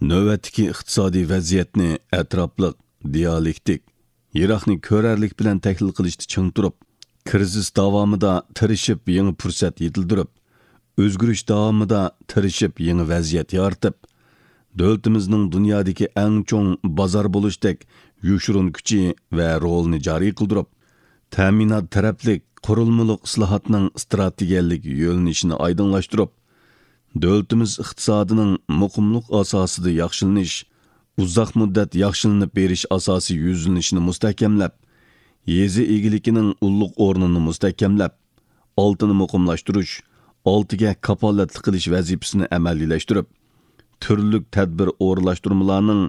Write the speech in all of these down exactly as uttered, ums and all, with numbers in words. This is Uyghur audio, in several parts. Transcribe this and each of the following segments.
نۆۋەتتىكى ئىقتىسادىي ۋەزىيەتنى ئەتراپلىق، دىيالېكتىك، يىراقنى كۆرەرلىك بىلەن تەھلىل قىلىشتا چىڭ تۇرۇپ، كىرىزىس داۋامىدا تىرىشىپ يېڭى پۇرسەت يېتىلدۈرۈپ، ئۆزگىرىش داۋامىدا تىرىشىپ يېڭى ۋەزىيەت يارىتىپ، دۆلىتىمىزنىڭ دۇنيادىكى ئەڭ چوڭ بازار بولۇشتەك يوشۇرۇن كۈچى ۋە رولىنى جارى قىلدۇرۇپ، تەمىنات تەرەپلىك قۇرۇلمىلىق ئىسلاھاتنىڭ ئىستراتېگىيەلىك يۆنىلىشىنى ئايدىڭلاشتۇرۇپ، دۆلىتىمىز ئىقتىسادىنىڭ مۇقىملىق ئاساسىدا ياخشىلىنىش، ئۇزاق مۇددەت ياخشىلىنىپ بېرىش ئاساسىي يۈزلىنىشىنى مۇستەھكەملەپ، يېزا ئىگىلىكىنىڭ ئۇللۇق ئورنىنى مۇستەھكەملەپ، ئالتىنى مۇقىملاشتۇرۇش، ئالتىگە كاپالەتلىك قىلىش ۋەزىپىسىنى ئەمەلىيلەشتۈرۈپ، تۈرلۈك تەدبىر ئورۇنلاشتۇرمىلارنىڭ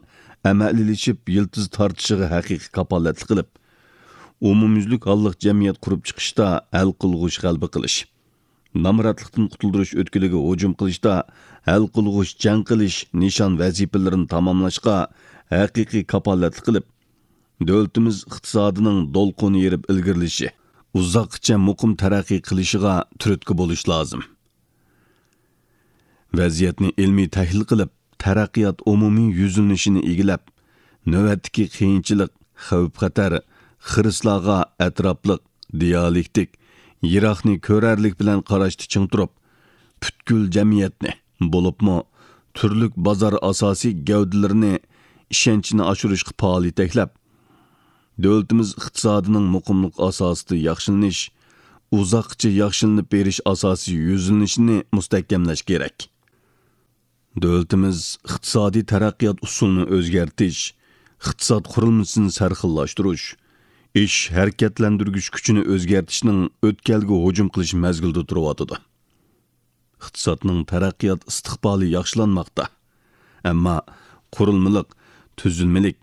ئەمەلىيلىشىپ يىلتىز تارتىشىغا ھەقىقىي كاپالەتلىك قىلىپ، ئومۇميۈزلۈك ھاللىق جەمئىيەت قۇرۇپ چىقىشتا ھەل قىلغۇچ غەلىبە قىلىش، نامراتلىقتىن قۇتۇلدۇرۇش ئۆتكىلىگە ھۇجۇم قىلىشتا ھەل قىلغۇچ جەڭ قىلىش نىشان ۋەزىپىلىرىنى تاماملاشقا ھەقىقىي كاپالەتلىك قىلىپ، دۆلىتىمىز ئىقتىسادىنىڭ دولقۇن يېرىپ ئىلگىرىلىشى، ئۇزاققىچە مۇقىم تەرەققىي قىلىشىغا تۈرتكە بولۇش لازىم. ۋەزىيەتنى ئىلمىي تەھلىل قىلىپ، تەرەققىيات ئومۇمىي يۈزلىنىشىنى ئىگىلەپ، نۆۋەتتىكى قىيىنچىلىق، خەۋپ-خەتەر، خىرىسلارغا ئەتراپلىق، دىيالېكتىك، يىراقنى كۆرەرلىك بىلەن قاراشتا چىڭ تۇرۇپ، پۈتكۈل جەمئىيەتنى، بولۇپمۇ تۈرلۈك بازار ئاساسىي گەۋدىلىرىنى ئىشەنچنى ئاشۇرۇشقا پائال يېتەكلەپ، دۆلىتىمىز ئىقتىسادىنىڭ مۇقىملىق ئاساسىدا ياخشىلىنىش، ئۇزاققىچە ياخشىلىنىپ بېرىش ئاساسىي يۈزلىنىشىنى مۇستەھكەملەش كېرەك. دۆلىتىمىز ئىقتىسادىي تەرەققىيات ئۇسۇلىنى ئۆزگەرتىش، ئىقتىساد قۇرۇلمىسىنى سەرخىللاشتۇرۇش، ئىش ھەرىكەتلەندۈرگۈچ كۈچىنى ئۆزگەرتىشنىڭ ئۆتكەلگە ھۇجۇم قىلىش مەزگىلىدە تۇرۇۋاتىدۇ. ئىقتىسادنىڭ تەرەققىيات ئىستىقبالى ياخشىلانماقتا. ئەمما قۇرۇلمىلىق، تۈزۈلمىلىك،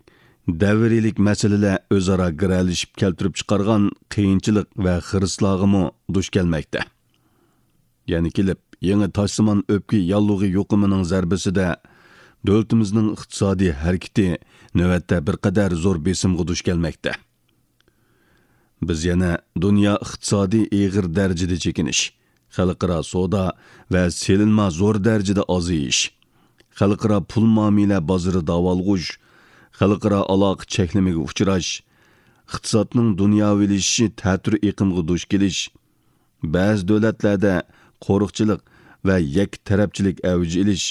دەۋرىيلىك مەسىلىلەر ئۆزئارا گىرەلىشىپ كەلتۈرۈپ چىقارغان قىيىنچىلىق ۋە خىرىسلارغىمۇ دۇچ كەلمەكتە. يەنە كېلىپ، يېڭى تاشسىمان ئۆپكە ياللۇغى يۇقۇمىنىڭ زەربىسىدە دۆلىتىمىزنىڭ ئىقتىسادىي ھەرىكىتى نۆۋەتتە بىر قەدەر زور بېسىمغا دۇچ كەلمەكتە. بىز يەنە دۇنيا ئىقتىسادى ئېغىر دەرىجىدە چېكىنىش، خەلقئارا سودا ۋە سېلىنما زور دەرىجىدە ئازىيىش، خەلقئارا پۇل مۇئامىلە بازىرى داۋالغۇش، خەلقئارا ئالاقە چەكلىمىگە ئۇچراش، ئىقتىسادنىڭ دۇنياۋىلىشىشى تەتۈر ئېقىمغا دۇچ كېلىش، بەزى دۆلەتلەردە قورۇقچىلىق ۋە يەككە تەرەپچىلىك ئەۋج ئېلىش،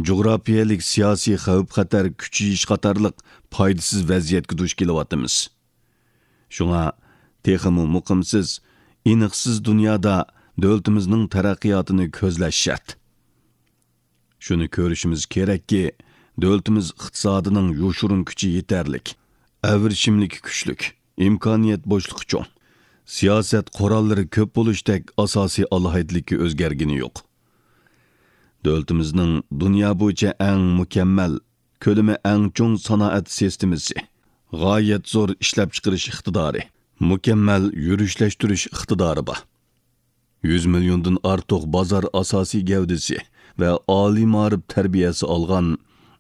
جۇغراپىيەلىك سىياسىي خەۋپ-خەتەر كۈچىيىش قاتارلىق پايدىسىز ۋەزىيەتكە دۇچ كېلىۋاتىمىز. شۇڭا تېخىمۇ مۇقىمسىز، ئېنىقسىز دۇنيادا دۆلىتىمىزنىڭ تەرەققىياتىنى كۆزلەش شەرت. شۇنى كۆرۈشىمىز كېرەككى، دۆلىتىمىز ئىقتىسادىنىڭ يوشۇرۇن كۈچى يېتەرلىك، ئەۋرىشىملىكى كۈچلۈك، ئىمكانىيەت بوشلۇقى چوڭ، سىياسەت قوراللىرى كۆپ بولۇشتەك ئاساسىي ئالاھىدىلىككە ئۆزگەرگىنى يوق. دۆلىتىمىزنىڭ دۇنيا بويىچە ئەڭ مۇكەممەل، كۆلىمى ئەڭ چوڭ سانائەت سىستېمىسى، غايەت زور ئىشلەپچىقىرىش ئىقتىدارى، مۇكەممەل يۈرۈشلەشتۈرۈش ئىقتىدارى بار. يۈز مىليوندىن ئارتۇق بازار ئاساسىي گەۋدىسى ۋە ئالىي مائارىپ تەربىيەسى ئالغان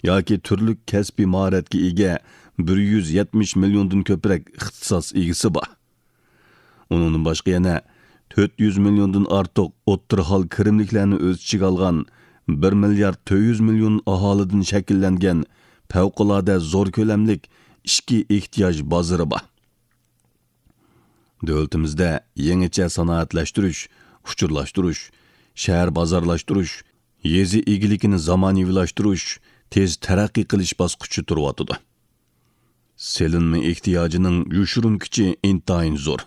ياكى تۈرلۈك كەسپىي ماھارەتكە ئىگە بىر يۈز يەتمىش مىليوندىن كۆپرەك ئىختىساس ئىگىسى بار. ئۇنىڭدىن باشقا يەنە تۆت يۈز مىليوندىن ئارتۇق ئوتتۇرا ھال كىرىملىكلەرنى ئۆز ئىچىگە ئالغان بىر مىليارد تۆت يۈز مىليون ئاھالىدىن شەكىللەنگەن پەۋقۇلئاددە زور كۆلەملىك ئىچكى ئېھتىياج بازىرى بار. دۆلىتىمىزدە يېڭىچە سانائەتلەشتۈرۈش، ئۇچۇرلاشتۇرۇش، شەھەر بازارلاشتۇرۇش، يېزا ئىگىلىكىنى زامانىۋىلاشتۇرۇش تېز تەرەققىي قىلىش باسقۇچى تۇرۇۋاتىدۇ. سېلىنما ئېھتىياجىنىڭ يوشۇرۇن كۈچى ئىنتايىن زور.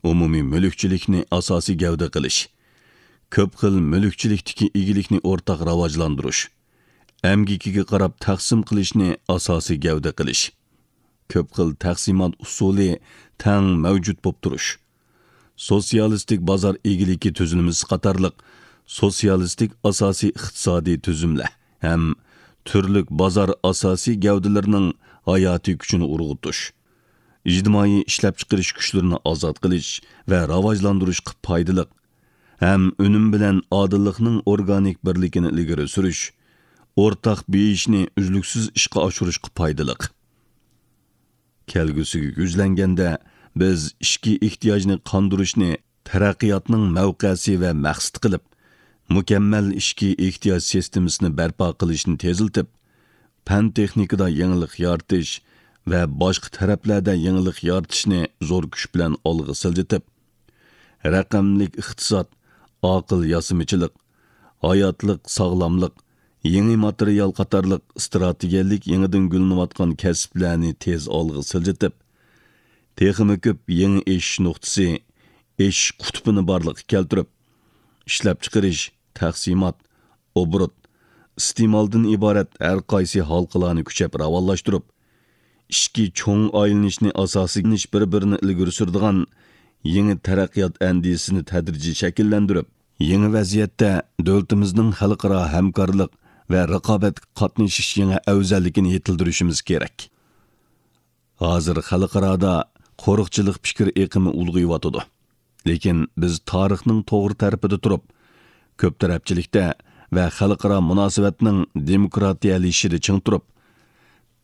ئومۇمىي مۈلۈكچىلىكنى ئاساسىي گەۋدە قىلىش، كۆپ خىل مۈلۈكچىلىكتىكى ئىگىلىكنى ئورتاق راۋاجلاندۇرۇش، ئەمگىكىگە قاراپ تەقسىم قىلىشنى ئاساسىي گەۋدە قىلىش، كۆپ خىل تەقسىمات ئۇسۇلى تەڭ مەۋجۇت بولۇپ تۇرۇش، سوتسىيالىستىك بازار ئىگىلىكى تۈزۈلمىسى قاتارلىق سوتسىيالىستىك ئاساسىي ئىقتىسادىي تۈزۈملەر ھەم تۈرلۈك بازار ئاساسىي گەۋدىلىرىنىڭ ھاياتىي كۈچىنى ئۇرغۇتۇش، ئىجتىمائىي ئىشلەپچىقىرىش كۈچلىرىنى ئازاد قىلىش ۋە راۋاجلاندۇرۇشقا پايدىلىق ھەم ئۈنۈم بىلەن ئادىللىقنىڭ ئورگانىك بىرلىكىنى ئىلگىرى سۈرۈش، ئورتاق بېيىشنى ئۈزلۈكسىز ئىشقا ئاشۇرۇشقا پايدىلىق. كەلگۈسىگە يۈزلەنگەندە، بىز ئىچكى ئېھتىياجنى قاندۇرۇشنى تەرەققىياتنىڭ مەۋقەسى ۋە مەقسىتى قىلىپ، مۇكەممەل ئىچكى ئېھتىياج سىستېمىسىنى بەرپا قىلىشنى تېزلىتىپ، پەن-تېخنىكىدا يېڭىلىق يارىتىش ۋە باشقا تەرەپلەردە يېڭىلىق يارىتىشنى زور كۈچ بىلەن ئالغا سىلجىتىپ، رەقەملىك ئىقتىساد، ئاقىل ياسىمىچىلىق، ھاياتلىق ساغلاملىق، يېڭى ماتېرىيال قاتارلىق ئىستراتېگىيەلىك يېڭىدىن گۈللىنىۋاتقان كەسىپلەرنى تېز ئالغا سىلجىتىپ، تېخىمۇ كۆپ يېڭى ئېشىش نۇقتىسى، ئېشىش قۇتۇپىنى بارلىققا كەلتۈرۈپ، ئىشلەپچىقىرىش، تەقسىمات، ئوبوروت، ئىستېمالدىن ئىبارەت ھەر قايسى ھالقىلارنى كۈچەپ راۋانلاشتۇرۇپ، ئىچكى چوڭ ئايلىنىشنى ئاساسىي قىلىش بىر-بىرىنى ئىلگىرى سۈرىدىغان يېڭى تەرەققىيات ئەندىزىسىنى تەدرىجىي شەكىللەندۈرۈپ، يېڭى ۋەزىيەتتە دۆلىتىمىزنىڭ خەلقئارا ھەمكارلىق ۋە رىقابەتكە قاتنىشىش يېڭى ئەۋزەللىكىنى يېتىلدۈرۈشىمىز كېرەك. ھازىر خەلقئارادا قورۇقچىلىق پىكىر ئېقىمى ئۇلغىيىۋاتىدۇ. لېكىن بىز تارىخنىڭ توغرا تەرىپىدە تۇرۇپ، كۆپ تەرەپچىلىكتە ۋە خەلقئارا مۇناسىۋەتنىڭ دېموكراتىيەلىشىشىدە چىڭ تۇرۇپ،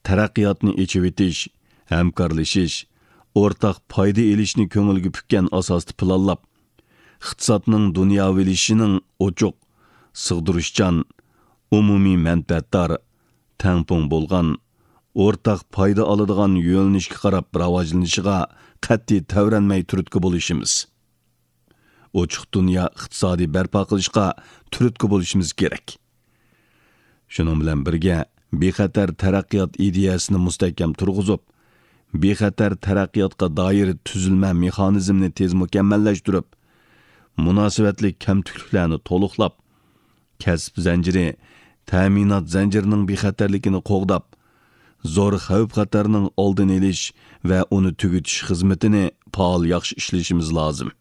تەرەققىياتنى ئېچىۋېتىش، ھەمكارلىشىش، ئورتاق پايدا ئېلىشنى كۆڭۈلگە پۈككەن ئاساستا پىلانلاپ، ئىقتىسادنىڭ دۇنياۋىلىشىشىنىڭ ئوچۇق، سىغدۇرۇشچان، ئومۇمىي مەنپەئەتدار، تەڭپۇڭ بولغان، ئورتاق پايدا ئالىدىغان يۆنىلىشكە قاراپ راۋاجلىنىشىغا قەتئىي تەۋرەنمەي تۈرتكە بولۇشىمىز. ئوچۇق دۇنيا ئىقتىسادى بەرپا قىلىشقا تۈرتكە بولۇشىمىز كېرەك. شۇنىڭ بىلەن بىرگە، بىخەتەر تەرەققىيات ئىدىيەسىنى مۇستەھكەم تۇرغۇزۇپ، بىخەتەر تەرەققىياتقا دائىر تۈزۈلمە مېخانىزمىنى تېز مۇكەممەللەشتۈرۈپ، مۇناسىۋەتلىك كەمتۈكلۈكلەرنى تولۇقلاپ، كەسىپ زەنجىرى، تەمىنات زەنجىرىنىڭ بىخەتەرلىكىنى قوغداپ، زور خەۋپ-خەتەرنىڭ ئالدىنى ئېلىش ۋە ئۇنى تۈگىتىش خىزمىتىنى پائال ياخشى ئىشلىشىمىز لازىم.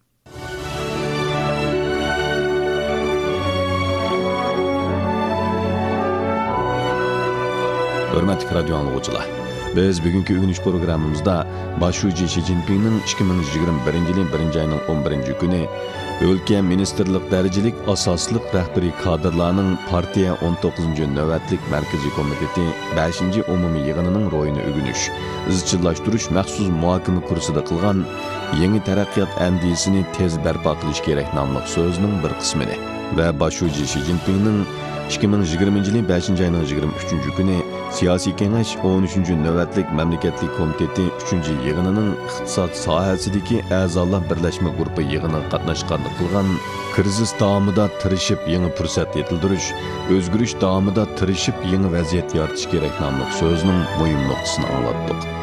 ھۆرمەتلىك رادىيو ئاڭلىغۇچىلار، بىز بۈگۈنكى ئۆگىنىش پروگراممىمىزدا باش شۇجى شى جىنپىڭنىڭ ئىككى مىڭ يىگىرمە بىرىنچى يىلى بىرىنچى ئاينىڭ ئون بىرىنچى كۈنى ئۆلكە مىنىستىرلىق دەرىجىلىك ئاساسلىق رەھبىرىي كادىرلارنىڭ پارتىيە ئون توققۇزىنچى نۆۋەتلىك مەركىزىي كومىتېتى بەشىنچى ئومۇمىي يىغىنىنىڭ روھىنى ئۆگىنىش، ئىزچىللاشتۇرۇش مەخسۇس مۇھاكىمە كۇرسىدا قىلغان يېڭى تەرەققىيات ئەندىزىسىنى تېز بەرپا قىلىش كېرەك ناملىق سۆزىنىڭ بىر قىسمىدى. ۋە باش شۇجى شى جىنپىڭنىڭ ئىككى مىڭ يىگىرمىنچى يىلى بەشىنچى ئاينىڭ يىگىرمە ئۈچىنچى كۈنى سىياسىي كېڭەش ئون ئۈچىنچى نۆۋەتلىك مەملىكەتلىك كومىتېتى ئۈچىنچى يىغىنىنىڭ ئىقتىساد ساھەسىدىكى ئەزالار بىرلەشمە گۇرۇپپا يىغىنىغا قاتناشقاندا قىلغان كىرىزىس داۋامىدا تىرىشىپ يېڭى پۇرسەت يېتىلدۈرۈش، ئۆزگىرىش داۋامىدا تىرىشىپ يېڭى ۋەزىيەت يارىتىش كېرەك ناملىق سۆزىنىڭ مۇھىم نۇقتىسىنى ئاڭلاتتۇق.